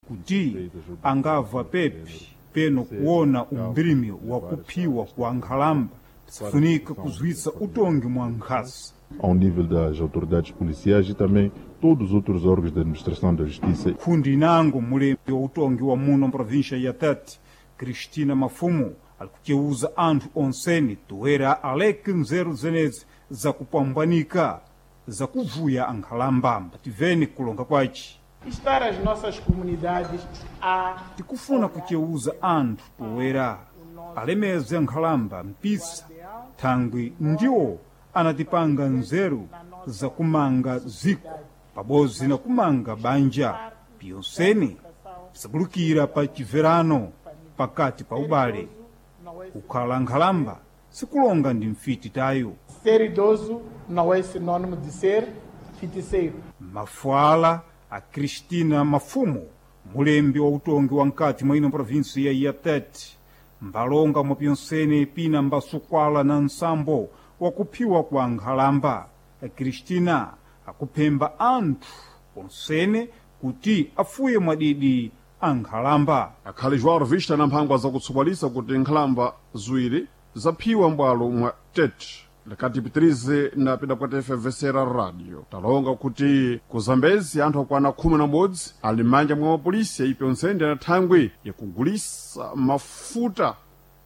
Kuti angava pepi peno kuona umbilimi wa kuphiwa kwa nkhalamba, psifunika kuzwitsa utongi mwa nkhasa. Ao nível das autoridades policiais e também todos os outros órgãos da administração da justiça. Khundi inango mulembi wa utongi wa muno mprovíncia ya Tete, Cristina Mafumo, ali kuceuza anthu onseni toera aleke nzeru zenezi zakupambanika zakuvuya ankhalamba. Mbativeni kulonga kwaci. Estar as nossas comunidades a Tikufuna kuceuza anthu poera alemeze nkhalamba mpisa thangwi ndiwo anatipanga nzeru zakumanga ziko pabodzi na kumanga banja piyonseni pisabulukira pa chibverano pakati pa ubale. Kukhala nkhalamba sikulonga ndi mfiti tayo. Ser idoso não é sinônimo de ser feiticeiro. Mafuala a Cristina Mafumo, mulembi wa utongi wa nkati mwa ino provinsi ya Tete, mbalonga mwa pyonsene pina mbasukwala na nsambo wakuphiwa kwa nkhalamba. Cristina akuphemba anthu onsene kuti afuye mwadidi ankhalamba. Akhali João Revista na mphangwa zakutsopalisa kuti nkhalamba ziwiri zaphiwa m'bwalo mwa Tete. Likati pitirize na pidapwata FMVCR radio talonga kuti ku Zambezi anthu akwana 11 ali m'manja mwa mapolisi aipyonsene na thangwi yakugulisa mafuta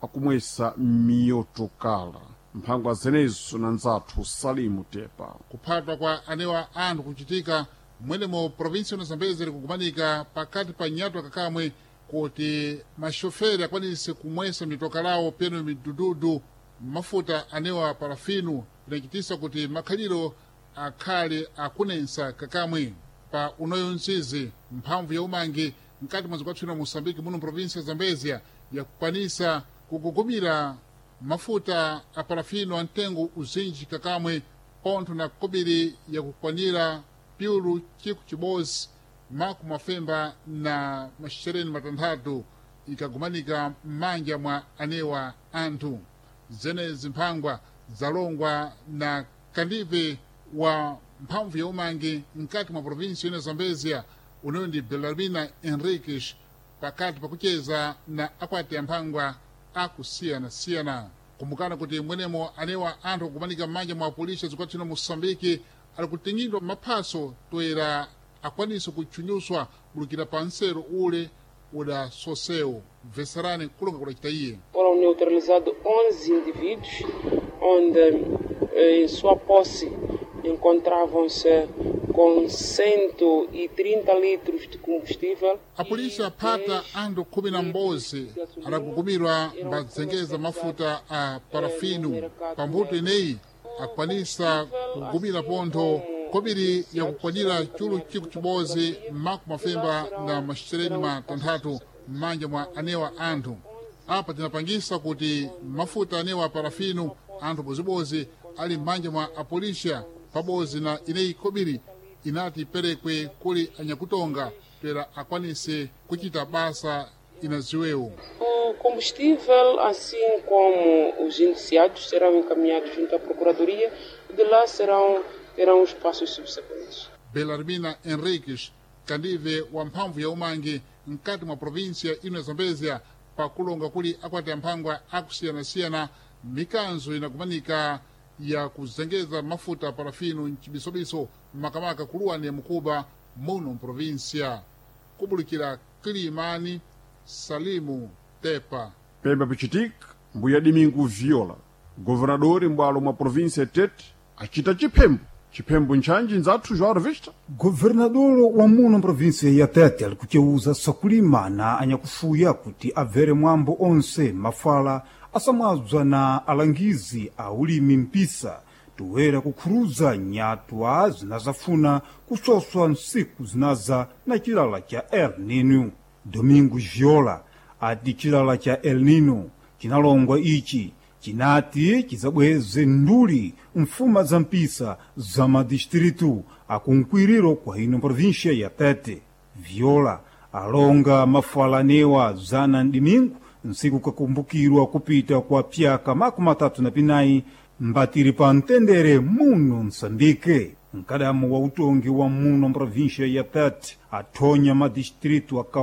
akumwesa miyotokala. Mphangwa zenezo na nzathu Salimu Tepa. Kuphatwa kwa anewa anthu kuchitika mwenemo provinsi ya Zambezi likukumanika pakati pa nyatwa kakamwe kuti maxoferi akwanise kumwesa mitoka lawo peno midududu mafuta anewa parafinu pinachitisa kuti makhaliro akhale akunensa kakamwe. Pa unoyo msizi mphamvu ya umangi mkati mwa zikwathu Moçambique muno provinsi ya Zambezia yakukwanisa kugugumira mafuta a parafino a mtengo uzinji kakamwe pontho na kobiri yakukwanira piulu chiku chibodzi makumi mafemba na maxereni matanthatu ikagumanika m'manja mwa anewa anthu. Zenezi mphangwa zalongwa na kandive wa mphamvu ya umangi mkati mwa provinsi ino Zambezia unoyo ndi Belarmina Henriques pakati pakucheza na akwati ya mphangwa akusiyana-siyana. Kumbukana kuti mwenemo anewa anthu akumanika m'manja mwa apolisi azikwathu ino Moçambique ali kutingidwa maphaso toera akwanise kutchunyuswa bulukira pa nsero ule udasosewo. Bveserani kulonga kudacita iye. Foram neutralizados 11 indivíduos, onde em sua posse encontravam-se com 130 litros de combustível. A polícia aphata anthu khumi na m'bodzi adagugumirwa mbadzengeza mafuta a parafino. Pambuto ineyi akwanisa kugumira pontho kobiri yakukwanira chulu chiku chibodzi makumi mafemba na maxereni matanthatu m'manja mwa anewa anthu. Apa tinapangisa kuti mafuta anewa parafino anthu bozibozi ali m'manja mwa apolisia pabodzi na ineyi kobiri inati iperekwe kuli anyakutonga pera akwanise kuchita basa inaziwewo. O combustível, assim como os indiciados, serão encaminhados junto à Procuradoria e de lá terão os passos subsequentes. Belarmina Henriques, kandive wa mphamvu ya umangi mkati mwa província ino ya Zambezia pakulonga kuli akwati amphangwa akusiyana-siyana mikanzo inakumanika ya kuzengeza mafuta parafino mchibisobiso makamaka kuluwani ya mukuba muno mprovinsia. Kubulikira Kilimani, Salimu Tepa. Pemba pichitika mbuya Domingo Viola, governador m'bwalo mwa província Tete, acita chiphembo. Chiphembo nchanji nzathu João Revista. Governador wa muno província ya Tete ali kuceuza sakulima na anyakufuya kuti abvere mwambo onse mafala asamwabza na alangizi a ulimi mpisa toera kukhuruza nyatwa zinazafuna kusoswa nsiku zinaza na chilala cha El Nino. Domingos Viola ati chilala cha El Nino chinalongwa ichi chinati chizabweze nduli mfuma za mpisa za madistritu akunkwiriro kwa ino província ya Tete. Viola alonga mafalanewa zana mdimingu nsiku kakumbukirwa kupita kwa pyaka 34 mbatiri pa mtendere muno Msambike. Mkadamu wa utongi wa muno província ya Tete athonya madistritu akawa